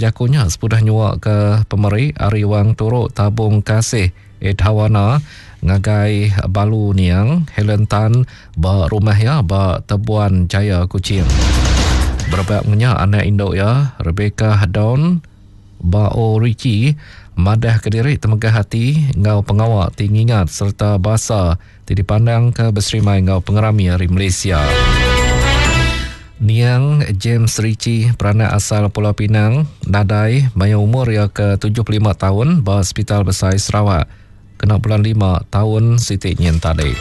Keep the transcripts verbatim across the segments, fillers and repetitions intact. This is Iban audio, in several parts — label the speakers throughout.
Speaker 1: jakunya sepudah nyuak ke pemeri ari wang turuk tabung kasih Edhawana ngagai Balu Niang Helen Tan ba rumah ya ba Tebuan Jaya Kuching. Berebak ngenyak anak induk ya Rebecca Dawn Bao Ricci madah ke diri temegah hati ngau pengawak ti ngingat serta basa ti dipandang ke berserimai ngau pengerami hari Malaysia. Niang James Ritchie peranak asal Pulau Pinang nadai maya umur ia ke tujuh puluh lima tahun ba Hospital Besai Sarawak kena bulan lima tahun siti nyin tadi.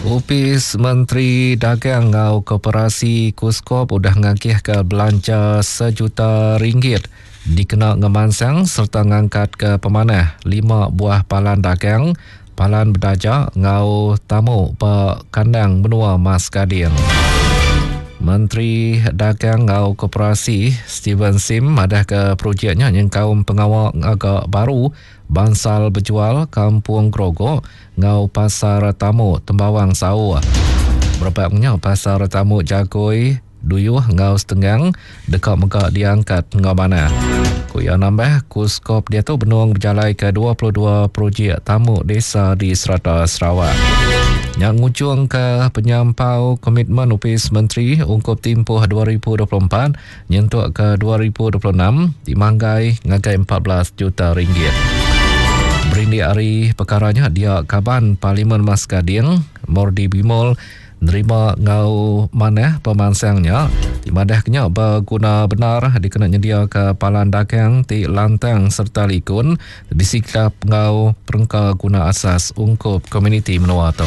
Speaker 1: Opis Menteri Dagang ngau Koperasi Kuskop udah ngagih ke belanja sejuta ringgit dikena ngemansang serta ngangkat ke pemanah lima buah palan dagang palan berdaja ngau tamu ba kandang menua Mas Gading. Menteri Dagang ngau Koperasi Steven Sim madah ke projeknya nyengkaum pengawal agak baru bangsal berjual Kampung Grogok ngau Pasar Tamu Tembawang Sauh. Berebaknya Pasar Tamu Jagoi Duyuh ngau Setenggang dekat mega diangkat ngau mana. Ku ia nambah Kuskop dia tu benung berjalai ke dua puluh dua projek tamu desa di serata Sarawak. Yang ngujung ke penyampau komitmen Upis Menteri ungkup tempoh dua ribu dua puluh empat nyentuk ke dua ribu dua puluh enam dimanggai ngagai empat belas juta ringgit. Berindik hari perkaranya dia kaban Parlimen Mas Gading Mordi Bimol nerima ngau manah pemansangnya di madah kenya berguna benar dikena nyedia ke palan dagang ti lantang serta likun disikap ngau perengka guna asas ungkup komuniti menua tu.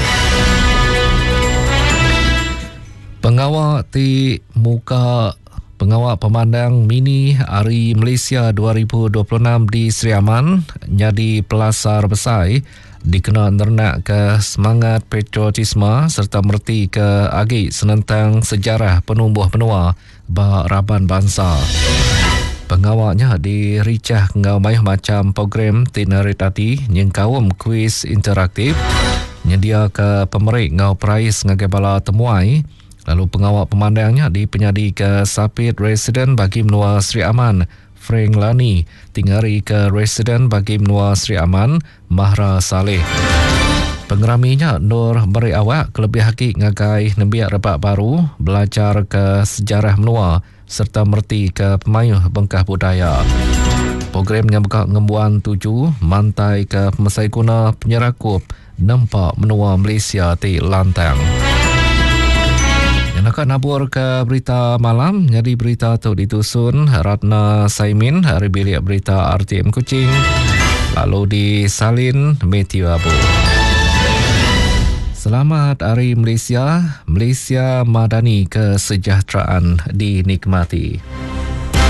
Speaker 1: Pengawal ti muka pengawal pemandang mini Hari Malaysia dua ribu dua puluh enam di Sri Aman jadi pelasar besar dikena nernak ke semangat patriotisme serta merti ke agi senentang sejarah penumbuh menua ba raban bangsa. Pengawalnya diricah ngau mayuh macam program ti naritati nyengkaum kuis interaktif nyedia ke pemerik ngau perais ngagai bala temuai lalu pengawal pemandangnya dipenyadi ke Sapit Residen bagi menua Sri Aman Frank Lani tingari ke Residen bagi menua Sri Aman Mahra Saleh. Pengeraminya Nur beri awak kelebih haki ngagai nembiak rebak baru belajar ke sejarah menua serta merti ke pemayuh bengkah budaya. Programnya buka ngembuan tuju mantai ke pemesai guna penyerakup nempak menua Malaysia ti lantang. Nak nabur ke berita malam, jadi berita tu ditusun Ratna Saimin hari bilik berita R T M Kuching lalu disalin Matthew Abu. Selamat Hari Malaysia, Malaysia Madani kesejahteraan dinikmati.